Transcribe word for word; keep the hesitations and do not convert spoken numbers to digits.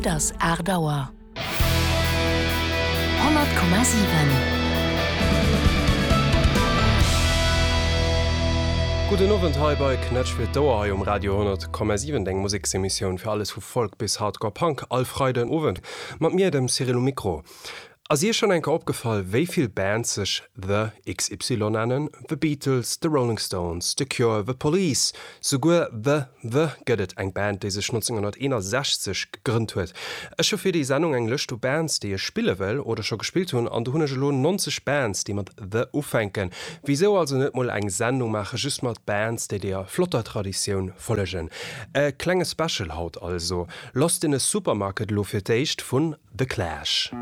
Et ass aacht Auer. Honnert Komma siwen. Gudden Owend hei bei Knätsch fir d'Ouer hei um Radio honnert Komma siwen, deng Museksemissioun fir alles vu Folk bis Hardcore Punk all Freiden Owend mat mir, dem Cyril um Mikro. Ass iech schonn eng Kéier opgefall, wéi vill Bands sech The XY nennen? The Beatles, The Rolling Stones, The Cure, The Police, souguer The The gëtt et, eng Band, déi sech nonzénghonnerteenasechzeg gegrënnt huet. Ech hu fir déi Sendung eng Lëscht u Bands, déi ech spille wëll oder scho gespillt hunn, an do hunn ech elo nonzeg Bands, déi mat The ufänken. Wisou also net mol eng Sendung maache just mat Bands, déi deeër flotter Traditioun follegen? E klenge Special haut also. Lost in a Supermarket elo fir d'éischt vun The Clash.